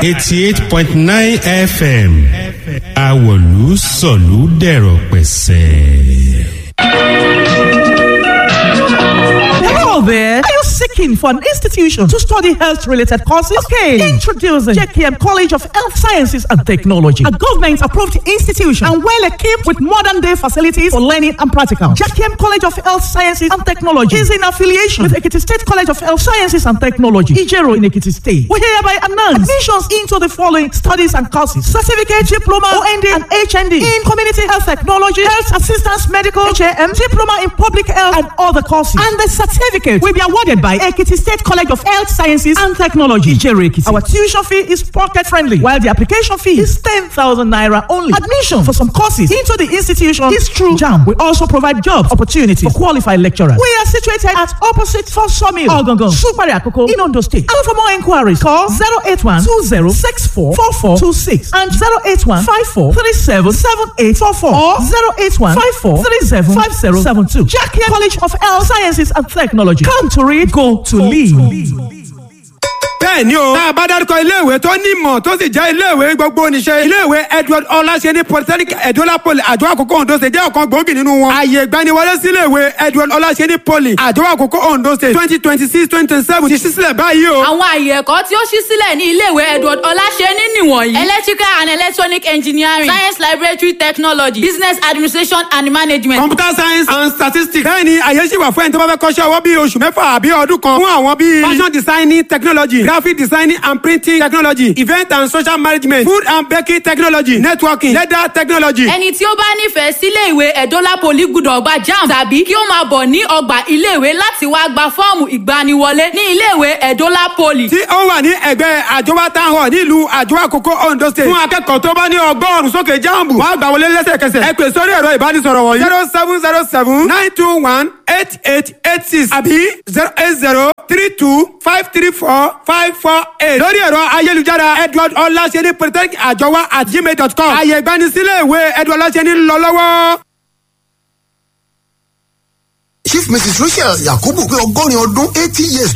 88.9 FM àwọ̀lú sọ̀lú dẹ̀rọ̀ pẹ̀sẹ̀. Hello there. Are you seeking for an institution to study health-related courses? Okay. Introducing JKM College of Health Sciences and Technology, a government-approved institution and well-equipped with modern-day facilities for learning and practical. JKM College of Health Sciences and Technology is in affiliation with Ekiti State College of Health Sciences and Technology, Ijero in Ekiti State. We hereby announce admissions into the following studies and courses: certificate, diploma, OND, and HND in Community Health Technology, Health Assistance Medical, HAM, Diploma in Public Health, and other courses. And the certificate will be awarded by Ekiti State College of Health Sciences and Technology, Ijero Ekiti. Our tuition fee is pocket friendly, while the application fee is 10,000 naira only. Admission for some courses into the institution is through JAMB. We also provide job opportunities for qualified lecturers. We are situated at opposite First Sawmill, Ogongon, Supari Akoko, in Ondo State. And for more inquiries, call 081 20 64 4426 and 081 54 37 7844 or 081 54 37 5072. Jackie College of Health Sciences and Technology. Come to read, go to lead. Bẹ́ẹ̀ ni o, tá a bá dárúkọ iléèwé tó ní ìmọ̀ tó sì jẹ́ iléèwé gbogbo níṣẹ́, iléèwé Edward Ọláṣẹ́ni Polytechnic Edola Poly Àjọ Àkókò Ondo State jẹ́ ọ̀kan gbòógì nínú wọn. Ààyè ìgbaniwọlé sí iléèwé Edward Ọláṣẹ́ni Poly Àjọ Àkókò Ondo State 2026-2027 ti ṣí sílẹ̀ báyìí o. Àwọn àyè ẹ̀kọ́ tí ó ṣí sílẹ̀ ní iléèwé Edward Ọláṣẹ́ni nìwọ̀nyí: electrical and electronic engineering, science laboratory technology, business administration and management, computer science and statistics. Bẹ́ẹ̀ ni àyè ṣì wà fún ẹni tó bá fẹ́ kọ́ṣẹ́ ọwọ́ bíi oṣù 6 àbí ọdún kan fún àwọn bíi fashion designing technology, graphic designing and printing technology, event and social management, food and baking technology, networking, leather technology. Ẹni tí ó bá nífẹ̀ẹ́ sílé ìwé Edola Poly gbúdọ̀ gba JAMB tàbí kí ó máa bọ̀ ní ọgbà iléèwé láti wá gba fọ́ọ̀mù ìgbaniwọlé ní iléèwé Edola Poly tí ó wà ní ẹ̀gbẹ́ Àjọwá Town Hall nílùú Àjọwá Àkókò, Ondo State. Fún akẹ́kọ̀ọ́ tó bá ní 100 sókè JAMB, wọ́n á gbà wọlé lẹ́sẹ̀kẹsẹ̀. Ẹ pè sórí ẹ̀rọ ìbánisọ̀rọ̀ wọ̀nyí: 07079218886 àbí 08032534548 lórí ẹ̀rọ ayélujára Edward Ọláṣẹ́ni Polytechnic Àjọwá @gmail.com. Àyè ìgbanisílẹ̀ ìwé Edward Ọláṣẹ́ni ń lọ lọ́wọ́. Chief Mrs Rachel Yakubu pé 80 ọdún, 80 years.